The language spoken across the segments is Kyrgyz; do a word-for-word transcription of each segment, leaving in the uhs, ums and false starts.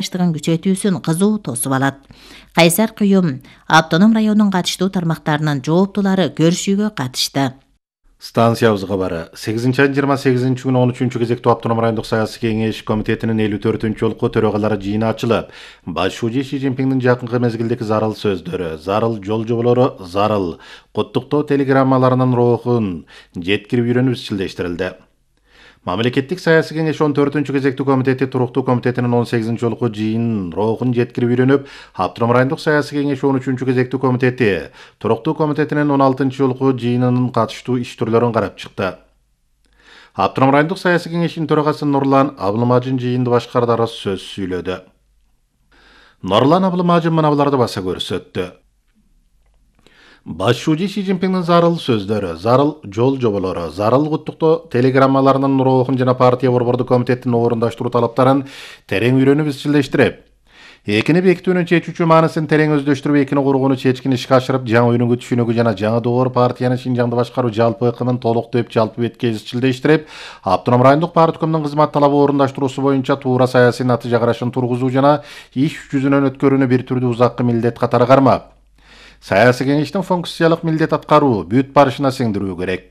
баштыгын күчөтүүсүн кызуу тосуп алат. Кайсар Күйүм автоном райондун катыштуу тармактарынын жооптулары көрүшүүгө катышты. Станциябыз кабары сегизинчи айдын жыйырма сегизинчи күнү он үчүнчү кезектүү автоном райондук саясий кеңеш комитетинин элүү төртүнчү жолку төрагалары жыйыны ачылып, баш шужий Си Цзиньпиндин жакынкы мезгилдеги зарыл сөздөрү, зарыл жол жоболору, зарыл куттуктоо телеграммаларынын рухун жеткирип үйрөнүп изчилдештирилди. Мамлекеттик саясий кеңеш он төртүнчү кезектүү комитети туруктуу комитетинин он сегизинчи жолку жыйынын рухун жеткирип үйрөнүп, автоном райондук саясий кеңеш он үчүнчү кезектүү комитети туруктуу комитетинин он алтынчы жолку жыйынынын катыштуу иш түрлөрүн карап чыкты. Автоном райондук саясий кеңештин төрагасы Нурлан Абылмажин жыйынды башкардаары сөз сүйлөдү. Нурлан Абылмажин мынабуларды баса көрсөттү. Баш шужий Си Цзиньпиндин зарыл сөздөрү, зарыл жол жоболору, зарыл куттуктоо телеграммаларынын рухун жана партия борбордук комитеттин орундаштыруу талаптарын терең үйрөнүп изчилдештирип, экини бекитүүнүн чечүүчү маанысын терең өздөштүрүп, экини кургууну чечкин ишке ашырып, жаңы өнүгүү түшүнүгү жана жаңы долбоор партиянын Шинжаңды башкаруу жалпы ыкымын толуктоп жалпы бетке изчилдештирип, автоном райондук парткомдун кызмат талабы орундаштыруусу боюнча туура саясий натыйжа карашын тургузуу жана иш жүзүнөн өткөрүүнү бир түрдүү узаккы милдет катары кармап, саясий кеңештин функциялык милдет аткаруу, бүт барышына сиңдирүү керек.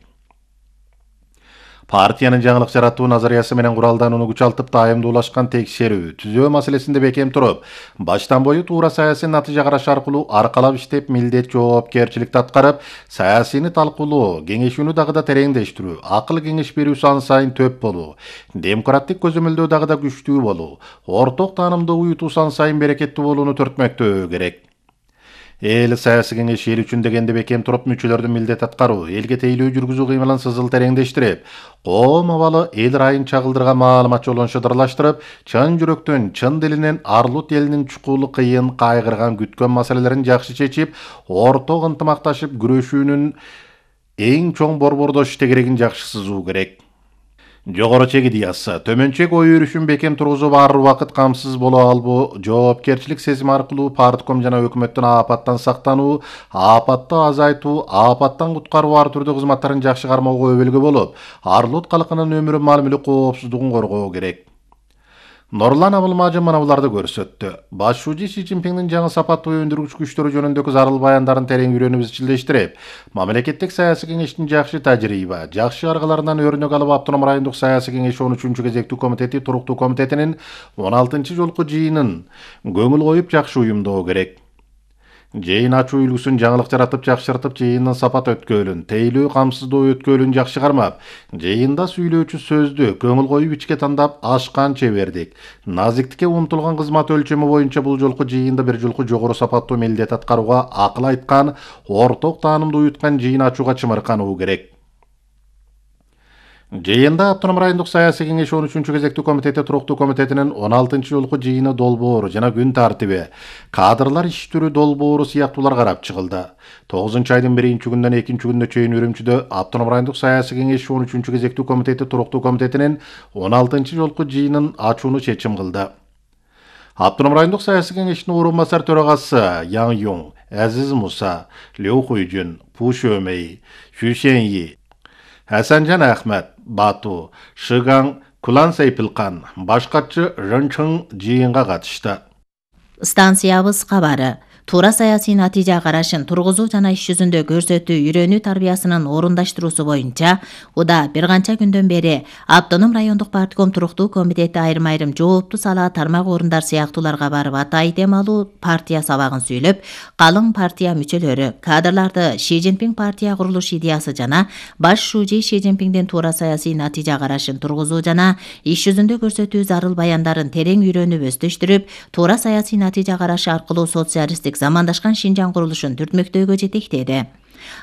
Партиянын жаңылык жаратуу назариясы менен куралданууну күчалтып, тайымдуулашкан текшерүү, түзөө маселесинде бекем туруп, баштан бою туура саясий натыйжа караш аркылуу аркалап иштеп, милдет жоопкерчиликти аткарып, саясийни талкуулоо, кеңешүүнү дагы да тереңдештирүү, акыл кеңеш берүү сан сайын төп болуу, демократик көзөмөлдөө дагы да күчтүү болуу, орток таанымды уютуу сан сайын берекеттүү болууну төртмөктөө керек. Эл саясий кеңеш эл үчүн дегенде бекем туруп, мүчөлөрдүн милдет аткаруу, элге тейлөө жүргүзүү кыймылын сызыл тереңдештирип, коом абалы эл райын чагылдырган маалымат жолун шыдырлаштырып, чын жүрөктөн, чын дилинен арлут элинин чукулу кыйын, кайгырган, күткөн маселелерин жакшы чечип, орток ынтымакташып күрөшүүнүн эң чоң борбордош тегерегин жакшы сызуу керек. Жогору чек идеясы, төмөн чек ой өрүшүн бекем тургузуп, ар убакыт камсыз боло албоо, жоопкерчилик сезими аркылуу партком жана өкмөттүн аапаттан сактануу, аапатты азайтуу, аапаттан куткаруу ар түрдүү кызматтарын жакшы кармоого өбөлгө болуп, арлут калкынын өмүрү, мал мүлүк коопсуздугун коргоо керек. Нурлан Абылмажин мынабуларды көрсөттү. Баш шужий Си Цзиньпиндин жаңы сапаттуу өндүргүч күчтөрү жөнүндөгү зарыл баяндарын терең үйрөнүп изчилдештирип, мамлекеттик саясий кеңештин жакшы тажрыйба, жакшы аргаларынан өрнөк алып, автоном райондук саясий кеңеш он үчүнчү кезектүү комитети туруктуу комитетинин он алтынчы жолку жыйынын көңүл коюп жакшы уюмдоо керек. Жыйын ачуу үлгүсүн жаңылык жаратып, жакшыртып, жыйындын сапат өткөлүн, тейлөө камсыздоо өткөлүн жакшы кармап, жыйында сүйлөөчү сөздү көңүл коюп ичке тандап, ашкан чебердик, назиктикке умтулган кызмат өлчөмү боюнча бул жолку жыйында бир жолку жогору сапаттуу милдет аткарууга акыл айткан, орток таанымды уюткан жыйын ачууга чымыркануу керек. Жыйында автоном райондук саясий кеңеш он үчүнчү кезектүү комитети туруктуу комитетинин он алтынчы жолку жыйыны долбоору жана күн тартиби, кадрлар иш түрү долбоору сыяктуулар карап чыгылды. тогузунчу айдын биринчи күнүнөн экинчи күнүнө чейин Үрүмчүдө автоном райондук саясий кеңеш он үчүнчү кезектүү комитети туруктуу комитетинин он алтынчы жолку жыйынын ачууну чечим кылды. Автоном райондук саясий кеңештин орун басар төрагасы Яң Юң, Азиз Муса, Лю Хуйжун, Пу Шөмей, Xu Xianyi, Хасанжан Ахмет, Бату, Шыгаң, Кулан Сайпилкан, башкачы Рынчың жыйынга катышты. Станциябыз кабары. Туура саясий натыйжа карашын тургузуу жана иш жүзүндө көрсөтүү үйрөнүү тарбиясынын орундаштыруусу боюнча уда бир канча күндөн бери автоном райондук партком туруктуу комитети айрым-айрым жооптуу сала тармак орундар сыяктууларга барып, атай темалуу партия сабагын сүйлөп, калың партия мүчөлөрү, кадрларды Си Цзиньпин партия курулуш идеясы жана баш шужий Си Цзиньпиндин туура саясий натыйжа карашын тургузуу жана иш жүзүндө көрсөтүү зарыл баяндарын терең үйрөнүп өздөштүрүп, туура саясий натыйжа карашы аркылуу социалисттик замандашкан Шинжаң курулушун түртмөктөөгө жетектеди.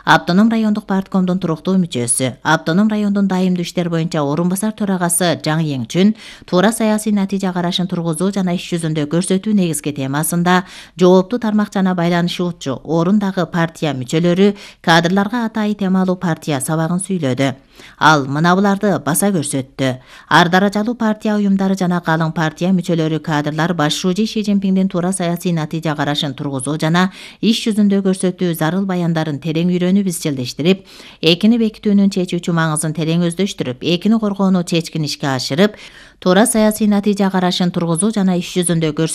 Автоном райондук парткомдун туруктуу мүчөсү, автоном райондун дайымдуу иштер боюнча орун басар төрагасы Жаң Еңчүн туура саясий натыйжа карашын тургузуу жана иш жүзүндө көрсөтүү негизги темасында жооптуу тармак жана байланышуучу орундагы партия мүчөлөрү кадрларга атай темалуу партия сабагын сүйлөдү. Ал мынабуларды баса көрсөттү. Ар даражалуу партия уюмдары жана калың партия мүчөлөрү кадрлар баш шужий Си Цзиньпиндин туура саясий натыйжа карашын тургузуу жана иш жүзүндө көрсөтүү зарыл баяндарын терең үйрөнүп изчилдештирип, экини бекитүүнүн чечүүчү маңызын терең өздөштүрүп, экини коргоону чечкин ишке ашырып, туура саясий натыйжа карашын тургузуу жана иш жүзүндө көрсөтүү